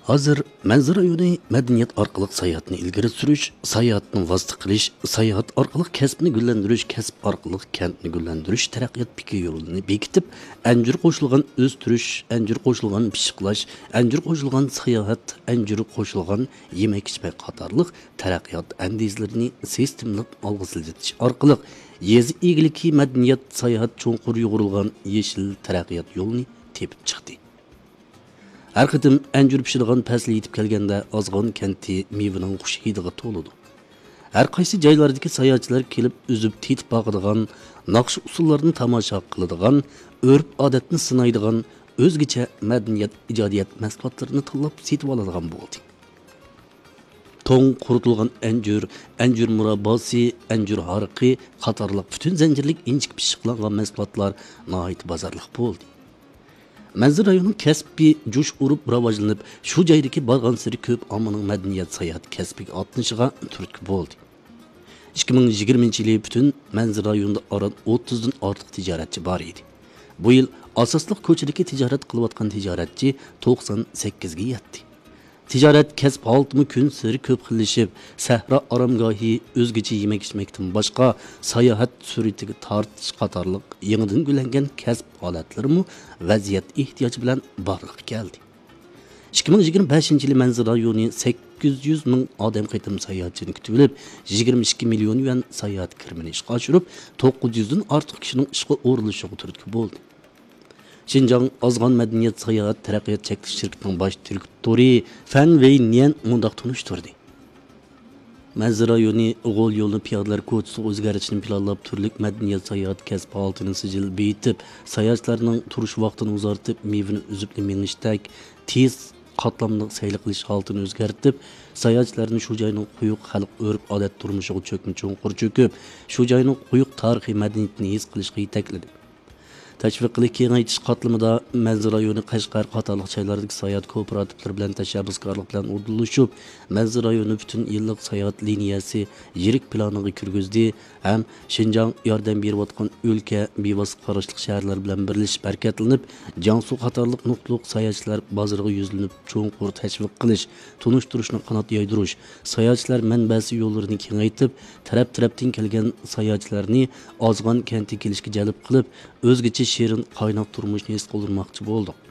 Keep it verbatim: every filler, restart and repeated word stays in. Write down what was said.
ھازىر مەنزىرە رايونى مەدەنىيەت ئارقىلىق ساياھەتنى ئىلگىرى سۈرۈش، ساياھەتنى ۋاسىتە قىلىش، ساياھەت ئارقىلىق كەسىپنى گۈللەندۈرۈش، كەسىپ ئارقىلىق كەنتنى گۈللەندۈرۈش تەرەققىيات پىكىر يولىنى بېكىتىپ، ئەنجۈر قوشۇلغان ئۆستۈرۈش، ئەنجۈر قوشۇلغان پىششىقلاش، ئەنجۈر قوشۇلغان ساياھەت، ئەنجۈر قوشۇلغان يېمەك-ئىچمەك قاتارلىق تەرەققىيات ئەندىزىلىرىنى سىستېمىلىق ئالغا سىلجىتىش ئارقىلىق، يېزا ئىگىلىكى، مەدەنىيەت، ساياھەت چوڭقۇر يۇغۇرۇلغان يېشىل تەرەققىيات يولىنى تېپىپ چىقتى. ھەر قېتىم ئەنجۈر پىشىدىغان پەسلى يېتىپ كەلگەندە، ئازغان كەنتى مېۋىنىڭ خۇش ھىدىغا تولىدۇ. ھەر قايسى جايلاردىكى ساياھەتچىلەر كېلىپ ئۈزۈپ تېتىپ باقىدىغان، ناخشا ئۇسسۇللارنى تاماشا قىلىدىغان، ئۆرپ-ئادەتنى سىنايدىغان، ئۆزگىچە مەدەنىيەت، ئىجادىيەت مەھسۇلاتلىرىنى تاللاپ سېتىۋالىدىغان بولدى. توڭ قۇرۇتۇلغان ئەنجۈر، ئەنجۈر مۇرابباسى، ئەنجۈر ھارىقى قاتارلىق پۈتۈن زەنجىرلىك ئىنچىكە پىششىقلانغان مەھسۇلاتلار ناھايىتى بازارلىق بولدى. مەنزىرە رايونىنىڭ كەسپى جۇش ئۇرۇپ راۋاجلىنىپ، شۇ جايدىكى بارغانسېرى كۆپ ئاممىنىڭ مەدەنىيەت ساياھەت كەسپىگە ئاتلىنىشىغا تۈرتكە بولدى. ئىككى مىڭ يىگىرمىنچى يىلى پۈتۈن مەنزىرە رايونىدا ئاران ئوتتۇزدىن ئارتۇق تىجارەتچى بار ئىدى. بۇ يىل ئاساسلىق كوچىدىكى تىجارەت قىلىۋاتقان تىجارەتچى توقسان سەككىزگە يەتتى. تىجارەت كەسىپ ھالىتىمۇ كۈنسېرى كۆپ خىللىشىپ، سەھرا ئارامگاھى، ئۆزگىچە يېمەك-ئىچمەكتىن باشقا، ساياھەت سۈرئىتىگە تارتىش قاتارلىق يېڭىدىن گۈللەنگەن كەسىپ ھالەتلىرىمۇ ۋەزىيەت ئېھتىياجى بىلەن بارلىققا كەلدى. ئىككى مىڭ يىگىرمە بەشىنچى يىلى مەنزىرە رايونى سەككىز يۈز مىڭ ئادەم قېتىم ساياھەتچىنى كۈتۈۋېلىپ، يىگىرمە ئىككى مىليون يۈەن ساياھەت كىرىمىنى ئىشقا ئاشۇرۇپ، توققۇز يۈزدىن ئارتۇق كىشىنىڭ ئىشقا ئورۇنلىشىشىغا تۈرتكە بولدى. شىنجاڭ ئازغان مەدەنىيەت ساياھەت تەرەققىيات چەكلىك شىركىتىنىڭ باش دىرېكتورى فەن ۋېي نيەن مۇنداق تونۇشتۇردى. مەنزىرە رايونى غول يولىنى پىيادىلەر كوچىسىغا ئۆزگەرتىشنى پىلانلاپ، تۈرلۈك مەدەنىيەت ساياھەت كەسپى ھالىتىنى سىجىل بېيىتىپ، ساياھەتچىلەرنىڭ تۇرۇش ۋاقتىنى ئۇزارتىپ، مېۋىنى ئۈزۈپلا مېڭىشتەك تېز قاتلاملىق سەيلە قىلىش ھالىتىنى ئۆزگەرتىپ، ساياھەتچىلەرنى شۇ جاينىڭ قويۇق خەلق ئۆرپ-ئادەت تۇرمۇشىغا چۆكمە چوڭقۇر چۆكۈپ، شۇ جاينىڭ قويۇق تارىخىي مەدەنىيىتىنى ھېس قىلىشقا يېتەكلىدى. تەشۋىق قىلىش كېڭەيتىش قاتلىمىدا مەنزىرە رايونى قەشقەر قاتارلىق جايلاردىكى ساياھەت كوپىراتىپلىرى بىلەن تەشەببۇسكارلىق بىلەن ئورۇنلىشىپ، مەنزىرە رايونى پۈتۈن يىللىق ساياھەت لىنىيەسى يىرىك پىلانىغا كىرگۈزدى ھەم شىنجاڭ ياردەم بېرىۋاتقان ئۆلكە، بىۋاسىتە قاراشلىق شەھەرلەر بىلەن بىرلىشىپ ھەرىكەتلىنىپ، جياڭسۇ قاتارلىق نۇقتىلىق ساياھەتچىلەر بازىرىغا يۈزلىنىپ، چوڭقۇر تەشۋىق قىلىش، تونۇشتۇرۇشنى قانات يايدۇرۇش، ساياھەتچىلەر مەنبەسى يوللىرىنى كېڭەيتىپ، تەرەپ-تەرەپتىن كەلگەن ساياھەتچىلەرنى ئازغان كەنتىگە كېلىشكە جەلپ قىلىپ، ئۆزگىچە شېرىن، قايناق تۇرمۇشنى ھېس قىلدۇرماقچى بولدۇق.